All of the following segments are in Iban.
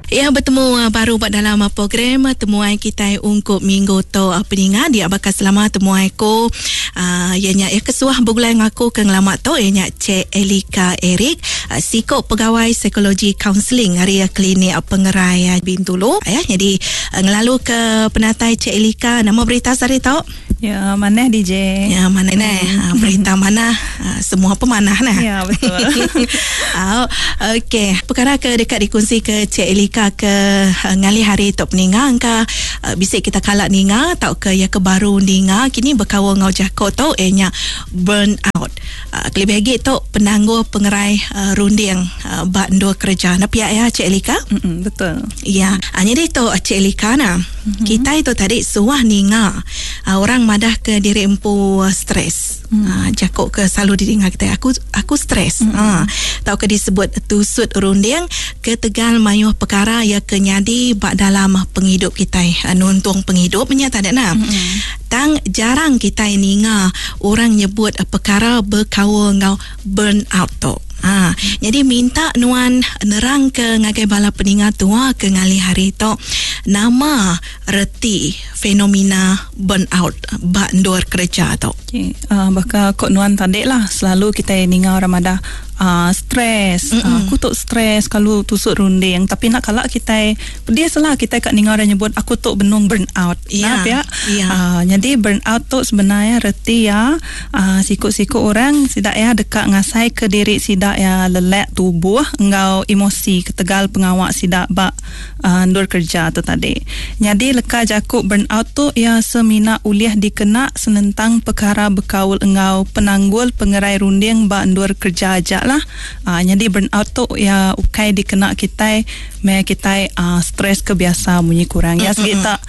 Ya betemu baru ba dalam program temuai kitai ungkup minggu tu peninga dia baka selama temuai ku iya nya iya ke suah begulai enggau aku ke ngelama tu iya nya Cik Elika Eric siku pegawai psikologi kaunseling ari klinik pengerai Bintulu ya nyadi ngelalu ke penatai Cik Elika nama berita sehari tu? Ya, manah DJ. Ya, manah neh. Ha, berita manah, ha, semua pemanah nah. Ya, betul. Au, okey. Perkara ke deka dikunsi ke Cik Elika ke ha, ngalih hari tu peninga engka uh, bisi kita kala ninga tauka ya ke baru ninga kini bekaul enggau jako tu iya nya burn out. Uh, kelebih agi tu penanggul pengerai uh, runding uh, ba endur kereja. Nah pia ya Cik Elika? Mm-mm, betul. Ya. Uh, jadi tu Cik Elika nah. Mm-hmm. Kitai tu tadi suah ninga orang madah ke diri empu stres. Mm. Jaku ke selalu didinga kitai aku aku stres. Mm. Tauka disebut tusut runding ketegal mayuh perkara ya ke nyadi ba dalam pengidup kitai. Nuntung pengidup nya tadi nah. Mm. Tang jarang kitai ninga orang nyebut perkara bekaul enggau burn out tu. Ha, jadi minta nuan nerang ke ngagai bala peninga tua ke ngalih hari tu nama reti fenomena burn out ba endur kereja tu. Okay. Baka kok nuan tadi lah selalu kita ninga orang madah stres. Aku tu stres kalau tusuk runding tapi nak kala kita pedis lah kita kat ninga orang nyebut aku tu benung burn out. Ya. Nah, pia. Ya. Jadi burn out tu sebenarnya reti ya siku-siku orang sida ya deka ngasai ke diri sida ya lelak tubuh enggau emosi ketegal pengawak sida ba endur kerja tu tadi. Jadi leka jaku burn out tu ya semina ulih dikena senentang perkara bekaul enggau penanggul pengerai runding ba endur kerja aja lah. Jadi burn out tu ya ukai dikena kitai me kitai stres ke biasa munyi kurang. Ya segi tak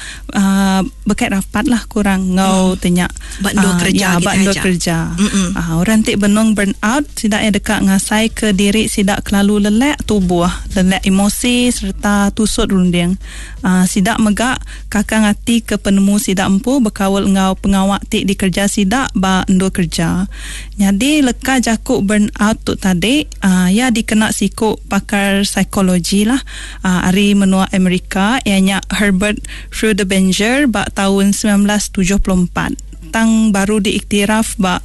bekait rapat lah kurang enggau tenya ba endur kerja ya, ba endur kerja. Orang ti benung burn out sida ya deka ngasai ke diri sida kelalu lelak tubuh, lelak emosi serta tusut runding. Sida mega kakang ati ke penemu sida empu bekaul enggau pengawa ti dikerja sida ba endur kerja. Nyadi leka jaku burn out tu tadi ya dikena siku pakar psikologi lah ari menua Amerika iya nya Herbert Freudenberger ba taun 1974 tang baru diiktiraf ba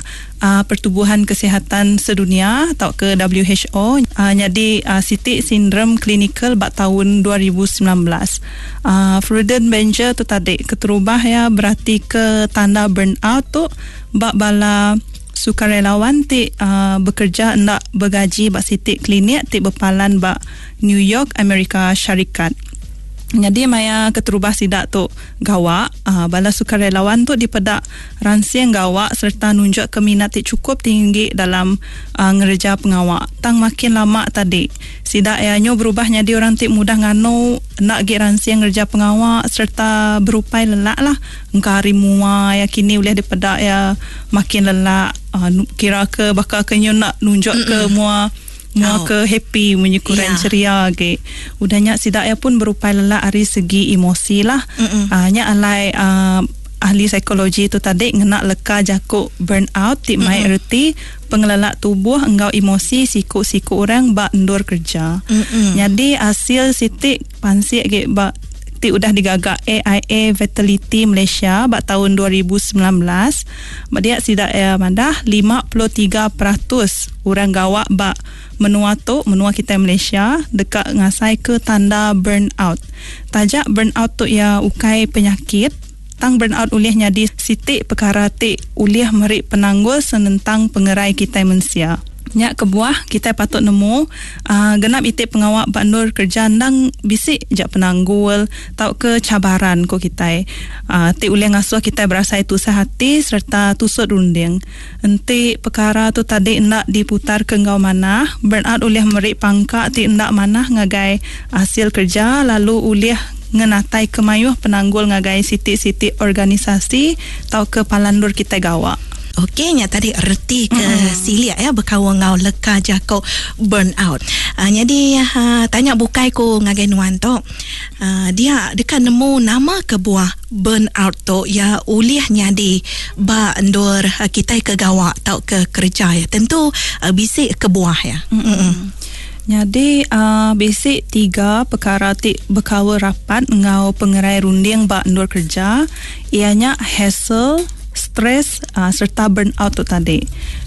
Pertubuhan Kesihatan Sedunia tauka WHO nyadi siti sindrom klinikal ba taun 2019. Freudenberger tu tadi keterubah iya beratika tanda burn out tu ba bala sukarelawan ti bekerja enda begaji ba siti klinik ti bepalan ba New York, Amerika Syarikat. Nyadi maya keterubah sida tu gawa, bala sukarelawan tu dipeda ransing gawa sereta nunjukka minat ti chukup tinggi dalam ngereja pengawa. Tang makin lama tadi, sida iya nyu berubah nyadi orang ti mudah nganu, enda agi ransing ngereja pengawa sereta berupai lelak lah. Engka ari mua iya kini ulih dipeda iya makin lelak, kira ke baka ke nyu enda nunjukka mua Mua ke happy munyi kurang ceria agi. Udah nya sida iya pun berupai lelak ari segi emosi lah. Nya alai ahli psikologi tu tadi ngena leka jaku burn out ti mai reti pengelelak tubuh enggau emosi siku-siku orang ba endur kerja. Nyadi asil siti pansik agi ba ti udah digaga AIA Vitality Malaysia ba taun 2019 ba dia sida iya madah 53% orang gawa ba menua tu, menua kitai Malaysia deka ngasaika tanda burn out. Taja burn out tu iya ukai penyakit, tang burn out ulih nyadi siti pekara ti ulih meri penanggul senentang pengerai kitai mensia. Nya kebuah kitai patut nemu genap iti pengawa ba endur kerja endang bisi ja penanggul tauka cabaran ku kitai ti ulih ngasuh kitai berasai tusah ati sereta tusut runding. Enti pekara tu tadi enda diputarka enggau manah, burnout ulih meri pangka ti enda manah ngagai asil kerja lalu ulih ngenataika mayuh penanggul ngagai siti-siti organisasi tauka palan endur kitai gawa. Okey, nya tadi reti ke silik ya bekaul enggau leka jaku burn out. Nyadi tanya bukai ku ngagai nuan tu, dia deka nemu nama kebuah burn out tu ya ulih nyadi ba endur kitai ke gawa tauka kereja ya. Tentu bisi kebuah ya. Nyadi uh, bisi tiga pekara ti bekaul rapat enggau pengerai runding ba endur kerja iya nya hassle, stress uh, serta burnout tu tadi.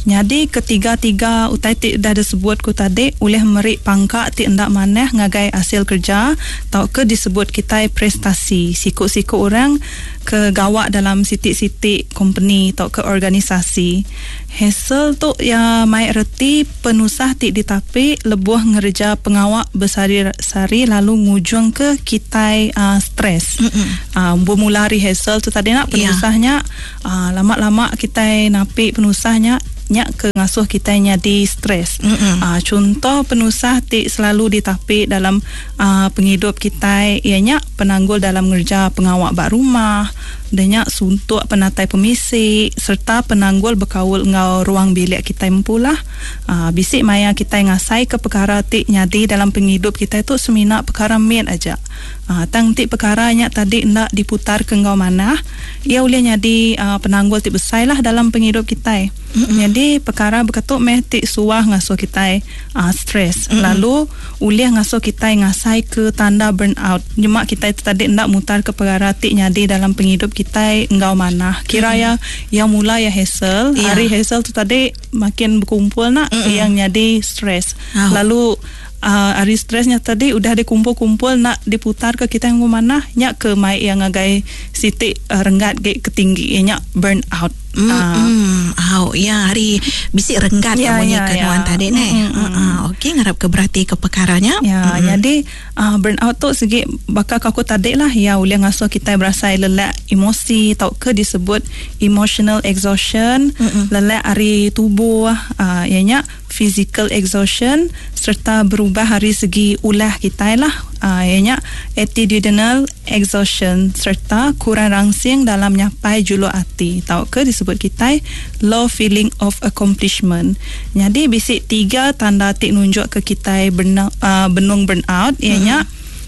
Nyadi ketiga-tiga utai ti udah disebut ku tadi ulih meri pangka ti enda manah ngagai asil kerja tauka disebut kitai prestasi siku-siku orang ke gawa dalam siti-siti kompeni tauka organisasi. Hassle tu iya mai reti penusah ti ditapi lebuh ngereja pengawa besehari-sehari lalu ngujungka kitai uh, stres. Uh, bermula ari hassle tu tadi nak penusah nya uh, lama-lama kitai napi penusah nya nya ke ngasuh kitai nyadi stres. Uh, contoh penusah ti selalu ditapi dalam uh, pengidup kitai iya nya penanggul dalam ngereja pengawa ba rumah, udah nya suntuk penatai pemisi sereta penanggul bekaul enggau ruang bilik kitai empu lah. Aa bisi maya kitai ngasaika pekara ti nyadi dalam pengidup kitai tu semina pekara mit aja. Aa tang enti pekara nya tadi enda diputarka enggau manah, iya ulih nyadi aa penanggul ti besai lah dalam pengidup kitai. Nyadi pekara baka tu meh ti suah ngasuh kitai aa stress lalu ulih ngasuh kitai ngasaika tanda burn out. Nyema kitai tu tadi enda mutarka pekara ti nyadi dalam pengidup kitai enggau manah. Kira iya iya mula iya hassle, ari hassle tu tadi makin bekumpul nya iya nyadi stress. Lalu aaa ari stress nya tadi udah dikumpul-kumpul enda diputarka kitai enggau manah nya ke mai iya ngagai siti renggat agi ke tinggi iya nya burn out. Mm au ya hari bisi renggat ya, munyi ya, ke nuan ya. tadi neh. Mm, mm. Uh, okey ngarap ke berati ke perkara nya. Ya, mm. jadi uh, burn out tu segi baka aku tadi lah ya ulih ngasuh kitai berasai lelak emosi tauka disebut emotional exhaustion, mm lelak ari tubuh uh, ya nya physical exhaustion sereta berubah ari segi ulah kitai lah iya nya attitudinal exhaustion sereta kurang rangsing dalam nyapai juluk ati tauka disebut kitai low feeling of accomplishment. Nyadi bisi tiga tanda ti nunjukka kitai benung burn out iya nya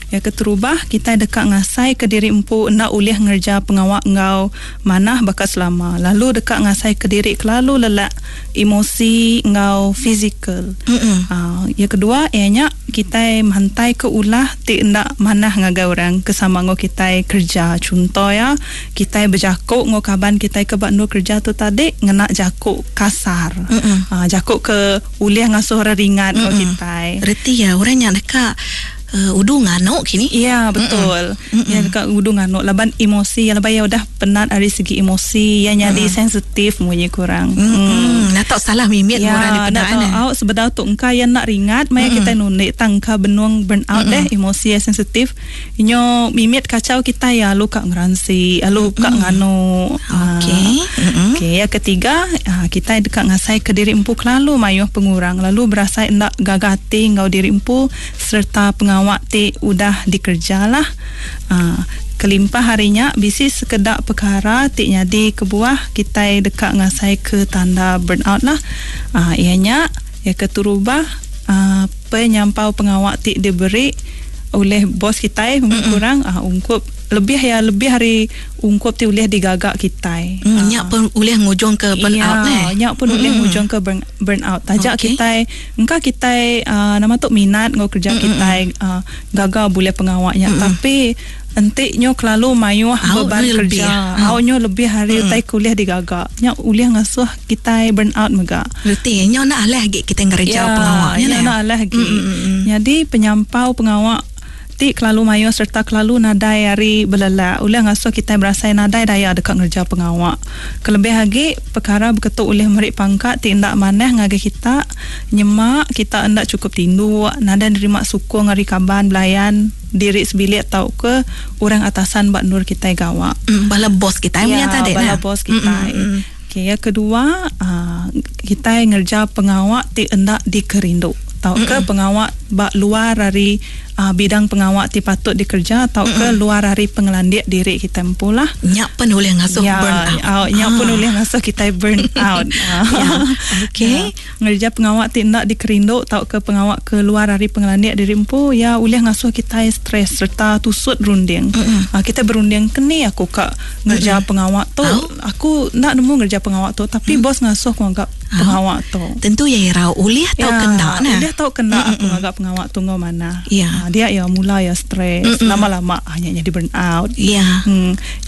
Iya keterubah, kitai deka ngasaika diri empu enda ulih ngereja pengawa enggau manah baka selama, lalu deka ngasaika diri kelalu lelak emosi enggau fizikal. Iya kedua iya nya kitai mantaika ulah ti enda manah ngagai orang ke sama enggau kitai kereja. Chunto iya, kitai bejaku enggau kaban kitai ke ba endur kereja tu tadi ngena jaku kasar. Jaku ke ulih ngasuh orang ringat enggau kitai. Reti iya orang nya deka Udu nganu kini. Iya betul. Iya deka udu nganu laban emosi iya laban iya udah penat ari segi emosi iya nyadi sensitif munyi ku orang. Enda tau salah mimit mun orang dipeda ne. Au sebedau tu engka iya enda ringat maya kitai nundi tang engka benung burn out deh emosi iya sensitif nyo mimit kachau kitai iya alu ka ngeransi alu ka nganu. Okey. Okey iya ketiga kitai deka ngasai ke diri empu kelalu mayuh pengurang lalu berasai enda gaga ati enggau diri empu sereta pengawa ti udah dikereja lah. Kelimpah ari nya bisi sekeda pekara ti nyadi kebuah kitai deka ngasaika tanda burnout lah. Iya nya, iya keterubah penyampau pengawa ti diberi ulih bos kitai kurang ungkup lebih iya lebih ari ungkup ti ulih digaga kitai. Nya pun ulih ngujungka burnout neh. Nya pun ulih ngujungka burn out taja okay. kitai engka kitai uh, nama tu minat enggau kerja mm-hmm. kitai uh, gaga bulih pengawa nya mm-hmm. tapi enti nyo kelalu mayuh beban kerja au nyo lebih hari mm. utai kulih digaga nya ulih ngasuh kitai burn out mega reti nyo nak alah agi kitai ngereja ya, pengawa nya nyo nak alah agi mm-hmm. jadi penyampau pengawa Ti kelalu mayuh sereta kelalu nadai hari belelak ulih ngasuh kitai berasai nadai daya deka ngereja pengawa. Kelebih agi, pekara beketu ulih meri pangka ti enda manah ngagai kita nyema kita enda chukup tinduk, nadai nerima sukung ari kaban belayan, diri sebilik tauka orang atasan ba endur kitai gawa. Bala bos kitai menya tadi nah. Ya, bala bos kitai. Okey, yang kedua, kitai ngereja pengawa ti enda dikerindu tauka pengawa ba luar ari bidang pengawa ti patut dikereja tauka luar ari pengelandik diri kitai empu lah. Nya pen ulih ngasuh ya, burn out. Au, nya pun ulih ngasuh kitai burn out. Ya. Okey. Ya. Ngereja pengawa ti enda dikerindu tauka pengawa ke luar ari pengelandik diri empu ya ulih ngasuh kitai stres sereta tusut runding. Uh, kitai berunding keni aku ka ngereja pengawa tu. Aku enda nemu ngereja pengawa tu tapi bos ngasuh aku ngaga pengawa tu. Tentu iya irau ulih tauka enda nah. Ulih tauka enda aku ngaga. pengawa tu enggau manah. Ya. Dia iya mula iya stress, lama-lama nya nyadi burn out. Ya.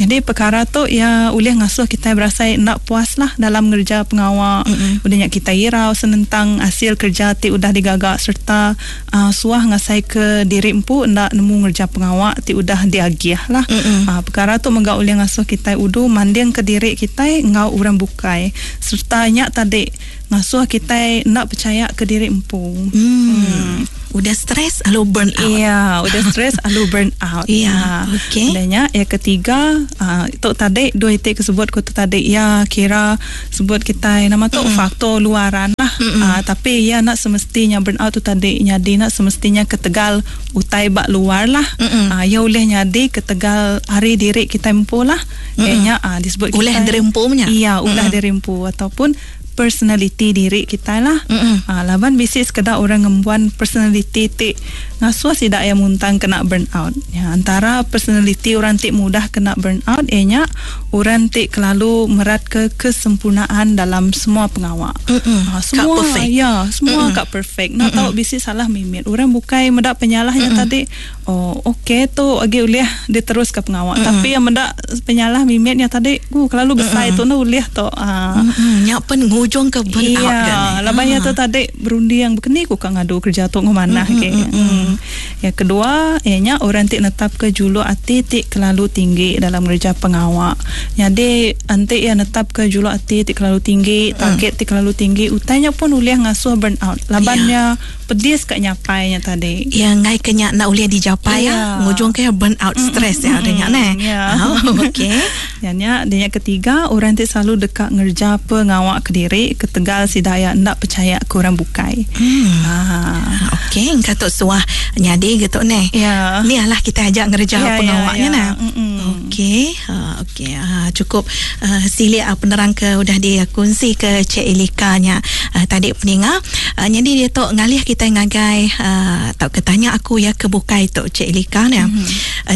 Nyadi pekara tu iya ulih ngasuh kitai berasai enda puas lah dalam ngereja pengawa. Udah nya kitai irau senentang asil kereja ti udah digaga sereta suah ngasaika diri empu enda nemu ngereja pengawa ti udah diagih lah. Pekara tu mega ulih ngasuh kitai udu mandingka diri kitai enggau orang bukai sereta nya tadi ngasuh kitai enda pechaya ke diri empu. Udah stress alu burn out. Iya, udah stress alu burn out. Iya, okey. Udah nya yang ketiga, tu tadi dua iti ke sebut ku tu tadi iya kira sebut kitai nama tu faktor luaran lah. Tapi iya enda semestinya burn out tu tadi nyadi enda semestinya ketegal utai ba luar lah. Iya ulih nyadi ketegal ari diri kitai empu lah. Iya nya disebut kitai ulah diri empu nya. Iya, ulah diri empu ataupun personaliti diri kitai lah. Laban bisi sekeda orang ngembuan personaliti ti ngasuh sida iya muntang kena burn out. Ya, antara personaliti orang ti mudah kena burn out iya nya orang ti kelalu meratka kesempurnaan dalam semua pengawa. Semua Ka perfect. Ya, semua ka perfect. Enda tau bisi salah mimit. Orang bukai meda penyalah nya tadi, oh okey tu agi ulih diteruska pengawa. Tapi iya meda penyalah mimit nya tadi, kelalu besai tu enda ulih tu. Nya pen ngujung ke burn out ga ne. Laban iya tu tadi berunding bekeni ku ka ngadu kerja tu enggau manah agi. Yang kedua iya nya orang ti netapka juluk ati ti kelalu tinggi dalam ngereja pengawa. Nyadi enti iya netapka juluk ati ti kelalu tinggi, target ti kelalu tinggi, utai nya pun ulih ngasuh burn out laban iya pedis ka nyapai nya tadi. Iya enggai ke nya enda ulih dijapai iya ngujung ke iya burn out stress iya udah nya neh. Okey. Iya nya dia nya ketiga orang ti selalu deka ngereja pengawa kediri ketegal sida iya enda pechaya ke orang bukai. Okey engka tu suah nyadi ga tu neh. Ni alah kitai aja ngereja pengawa nya neh. Okey. Okey cukup silik penerang ke udah dikunsi ke Cik Elika nya tadi peninga. Nyadi diatu ngalih kitai ngagai tauka tanya aku iya ke bukai tu Cik Elika nya.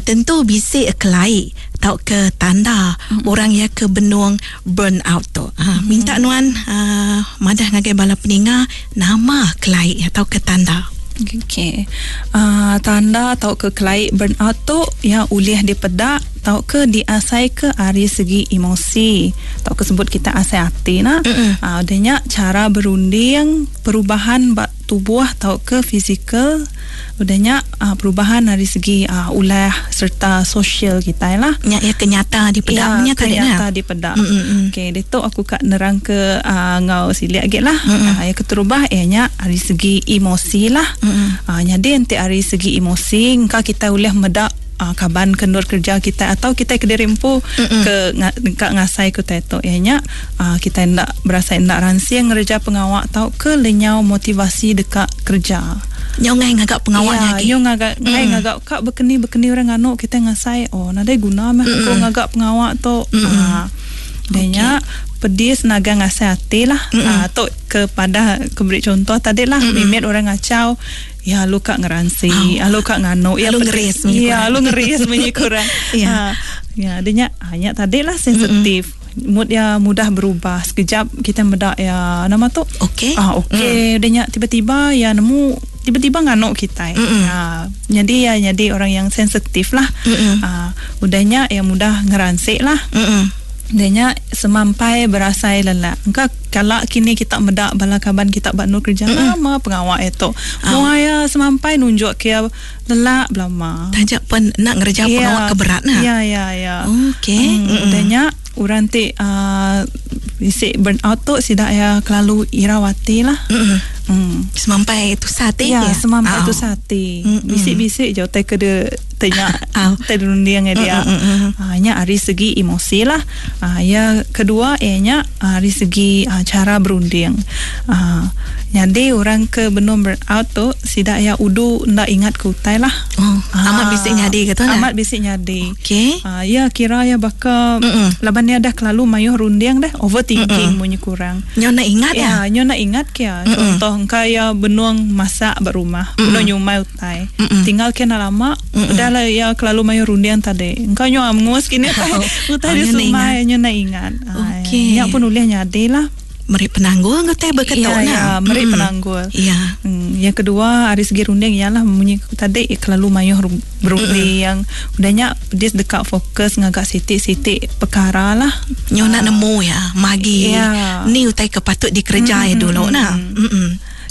Tentu bisi kelai tauka tanda orang iya ke benung burn out tu. Minta nuan madah ngagai bala peninga nama kelai tauka tanda. Okey. Tanda tauka kelai burn out tu iya ulih dipeda tauka diasaika ari segi emosi tauka sebut kitai asai ati nah. Udah nya chara berunding, perubahan ba tubuh tauka fizikal, udah nya perubahan ari segi ulah sereta sosial kitai lah. Nya iya ke nyata dipeda menya tadi nah. Nyata dipeda. Okey ditu aku ka nerangka enggau silik agi lah. Iya keterubah iya nya ari segi emosi lah. Nyadi enti ari segi emosi engka kitai ulih meda kaban ke endur kerja kitai atau kitai kediri empu ke ka ngasai ke utai tu iya nya kitai enda berasai enda ransing ngereja pengawa tauka lenyau motivasi deka kereja. Nyau ngai ngaga pengawa nya agi. Nyau ngaga ngai ngaga ka bekeni bekeni orang nganu kitai ngasai oh nadai guna meh aku ngaga pengawa tu. Udah nya pedis nagang asai ati lah. Tu ke padah ke beri contoh tadi lah mimit orang ngachau iya alu ka ngeransi alu ka nganu iya alu ngeris munyi iya alu ngeris munyi ku orang. Ya udah nya nya tadi lah sensitif. Mood iya mudah berubah sekejap kitai meda iya nama tu okey okey udah nya tiba-tiba iya nemu tiba-tiba nganu kitai nyadi iya nyadi orang yang sensitif lah udah nya iya mudah ngeransi lah udah nya semampai berasai lelak engka kala kini kita meda bala kaban kita ba endur kerja nama pengawa iya tu mua iya semampai nunjuk ke iya lelak belama. Taja pen enda ngereja pengawa ke berat nah. Ya ya ya. Okey. Udah nya orang ti bisi burn out tu sida iya kelalu irau ati lah. Semampai tusah ati. Ya, semampai tusah ati. Bisi-bisi je utai ke de tanya utai dirunding iya dia. Nya ari segi emosi lah. Iya kedua iya nya ari segi chara berunding. Nyadi orang ke benung burn out tu sida iya udu enda ingat ke utai lah. Oh, amat bisi nyadi ke tu nah. Amat bisi nyadi. Okey. Iya kira iya baka laban iya dah kelalu mayuh runding deh, overthinking munyi kurang. Nyau enda ingat iya. Ya, nyau enda ingat ke iya. Contoh engka iya benung masak ba rumah, benung nyumai utai. Tinggal ke enda lama, udah lah iya kelalu mayuh runding tadi. Engka nyau angus kini utai, utai disumai nyau enda ingat. Okey. Nya pun ulih nyadi lah. Meri penanggul enggau tai beketu ya, nah. Ya, meri penanggul. Ya. Yang kedua ari segi runding ialah munyi ku tadi kelalu mayuh berunding. Udah nya pedis deka fokus ngaga siti-siti perkara lah. Nyu nak nemu ya, magi ni utai ke patut dikereja ya dulu nah.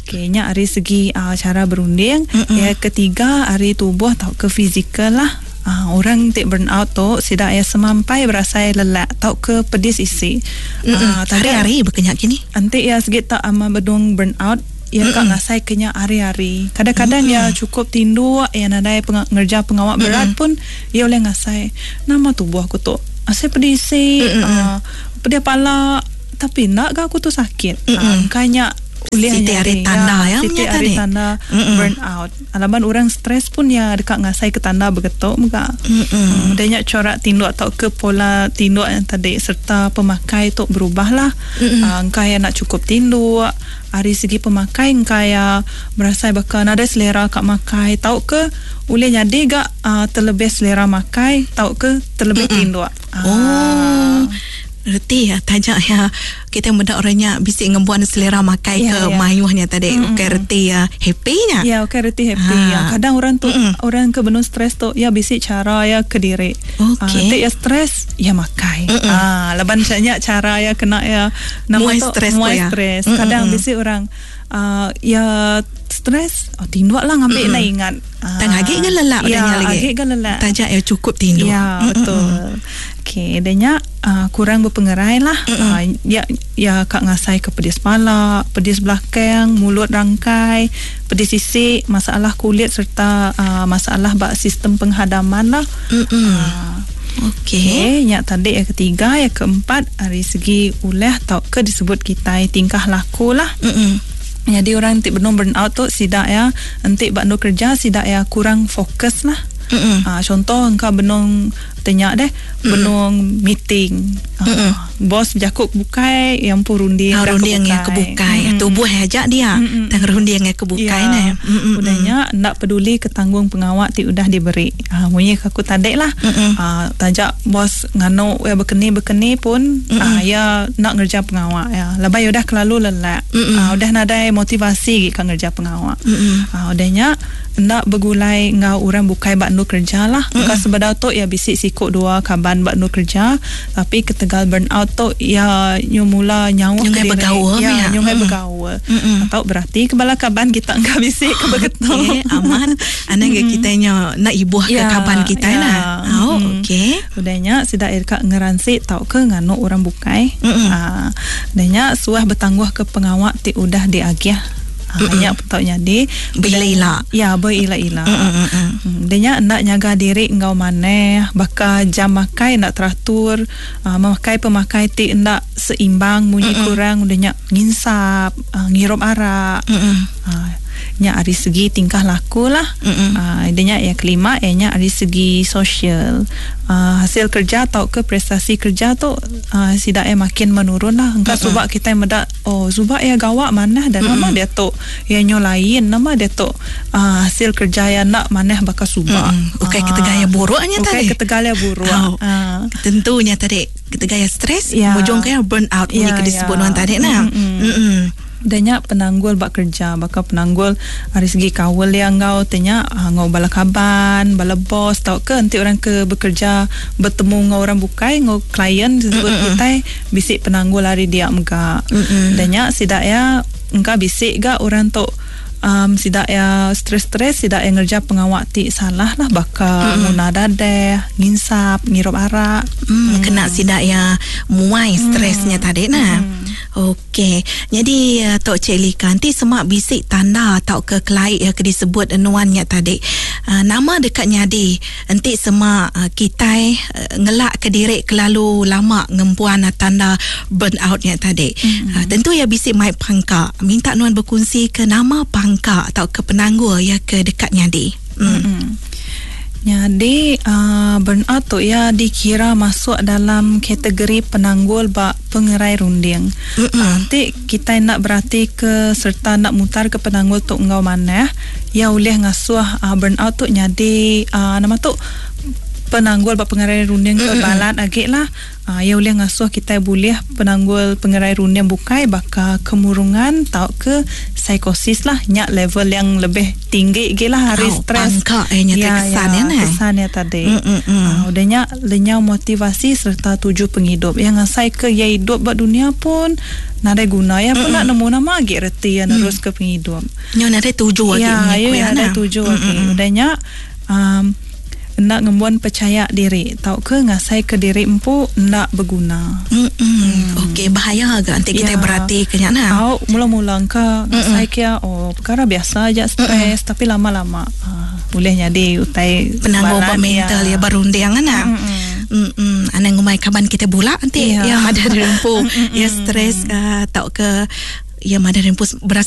Okey, nya ari segi cara berunding. Yang ketiga ari tubuh tauka fizikal lah. Orang ti burn out tu sida iya semampai berasai lelak tauka pedis isi. Hari-hari baka nya kini. Enti iya segi tak ama bedung burn out, iya ka ngasai ke nya hari-hari. Kadang-kadang iya chukup tinduk, iya nadai ngereja pengawa berat pun iya ulih ngasai nama tubuh aku tu asai pedis isi, pedih pala tapi enda ga aku tu sakit. Engka nya ulih Siti ari tanda ya siti menya ari tadi. tanda burn out. Laban orang stres pun ya deka ngasai ke tanda begitu mega. Udah nya corak tinduk tauka pola tinduk yang tadi serta pemakai tu berubah lah. Engka ya nak cukup tinduk, ari segi pemakai engka ya berasai baka nadai selera ka makai tauka ulih nyadi ga terlebih selera makai tauka terlebih tinduk. Oh. Reti ya taja ya kita meda orang nya bisi ngembuan selera makai ke mayuh nya tadi ukai reti ya happy nya. Ya ukai reti happy. Ya kadang orang tu orang ke benung stres tu ya bisi cara ya kediri. Okey. Ti ya stres ya makai. Laban nya cara ya kena ya nama Muai tu stres muai tu ya. stres. Kadang bisi orang ya stres oh tinduk lah ngambil nak ingat. Tang agi ke lelak ya, udah nya lagi. Agi ke lelak. Taja ya cukup tinduk. Ya betul. Okey, dan nya kurang berpengerai lah. Ya ya kak ngasai ke pedis pala, pedis belakang, mulut rangkai, pedis sisik, masalah kulit serta masalah bak sistem penghadaman lah. Okey. Okey, nya tadi yang ketiga, yang keempat dari segi ulah tauka disebut kita tingkah laku lah. Jadi orang ti benung burn out tu sidak ya, entik bak nu kerja sidak ya kurang fokus lah. Contoh engkau benung tanya deh, benung meeting. Bos jakuk bukai yang pun runding dah Runding yang kebukai. kebukai. Tubuh aja dia, tang runding yang kebukai nah. Udahnya ndak peduli ke tanggung pengawak ti udah diberi. Munyi aku tadi lah. Tajak bos nganu ya bekeni-bekeni pun ya nak ngerja pengawak ya. Labai udah kelalu lelak. Udah nadai motivasi gi ka ngerja pengawak. Udahnya ndak bergulai ngau orang bukai bak nu kerja lah. Ka sebedau tu ya bisi sikuk dua kaban bak nu kerja, tapi ketegal burn out tu ya nyu mula nyawa Nyungai ke diri. bergaul Ya, ya. nyungai bergaul. Atau berarti kebala kaban kita enggak bisi ke begitu. Okey, aman. Anak kita nya nak ibuh ke kaban kita nah. Oh, okey. Udahnya sidak irka ngeransi tau ke nganu orang bukai. Udahnya suah bertangguh ke pengawak ti udah diagih. Nya tau nyadi Bila-ila. Ya, berila-ila. Dia nya nak nyaga diri enggau maneh, baka jam makai nak teratur, memakai pemakai ti ndak seimbang, munyi kurang, udah nya nginsap, ngirup arak. Nya ari segi tingkah laku lah. Dia nya yang kelima, ia nya ari segi sosial. Hasil kerja atau ke prestasi kerja tu sidak ia makin menurun lah. Engkau subak kita medak, oh subak ia gawak manah dan nama dia tu ia nyo lain, nama dia tu hasil kerja ia nak manah bakal subak. Okey, kita gaya buruknya Okey, tadi. kita gaya buruk. Oh. Tentunya tadi kita gaya stres, mujung kaya burn out ni ke disebut orang tadi nah. Danya penanggul bak kerja, bakal penanggul dari segi kawal yang ngau tanya ngau bala kaban, bala bos tau ke nanti orang ke bekerja bertemu ngau orang bukai ngau klien disebut kita bisik penanggul hari dia mega. Danya sidak ya engkau bisik ga orang tu sidak ya stres-stres sidak yang ngerja pengawak ti salah lah bakal nguna dadeh, nginsap, ngirup arak. Kena sidak ya muai stresnya tadi nah. Okey. Jadi Tok Cik Lika nanti semak bisik tanda atau ke kelaik ya ke disebut nuannya tadi. Nama dekat nyadi enti semak kitai ngelak ke diri kelalu lama ngempuan tanda burn outnya tadi. Tentu ya bisik mai pangka. Minta nuan berkongsi ke nama pangka atau ke penanggul ya ke dekat nyadi. Jadi burnout tu ya dikira masuk dalam kategori penanggul bak pengerai runding. Nanti kita nak berarti ke serta nak mutar ke penanggul tu engkau manah, ya boleh ngasuh burnout tu jadi nama tu Penanggul ba pengerai runding ke balat agi lah. Iya ulih ngasuh kitai bulih penanggul pengerai runding bukai baka kemurungan tauka psikosis lah. Nya level yang lebih tinggi agi lah ari Oh, stres. pangka iya nya Ya, kesan ya, ya neh. Kesan iya tadi. Udah nya lenyau motivasi sereta tuju pengidup. Iya ngasai ke iya idup ba dunia pun nadai guna. Iya pun enda nemu nama agi reti iya neruska pengidup. Nyu nadai tuju agi Ya, munyi ya, ku iya nadai nah. tuju agi. Udah nya enda ngembuan pechaya diri tauka ngasai ke diri empu enda beguna. Okey, bahaya ga enti kita berati ke nya nah. Au, mula-mula engka ngasai ke oh perkara biasa aja stres, tapi lama-lama boleh jadi utai Penanggul ba balat, mental ya berunding kan nah. Anang ngumbai kaban kita bula nanti ya madah diri empu ya stres tauka ya madah diri empu berasa.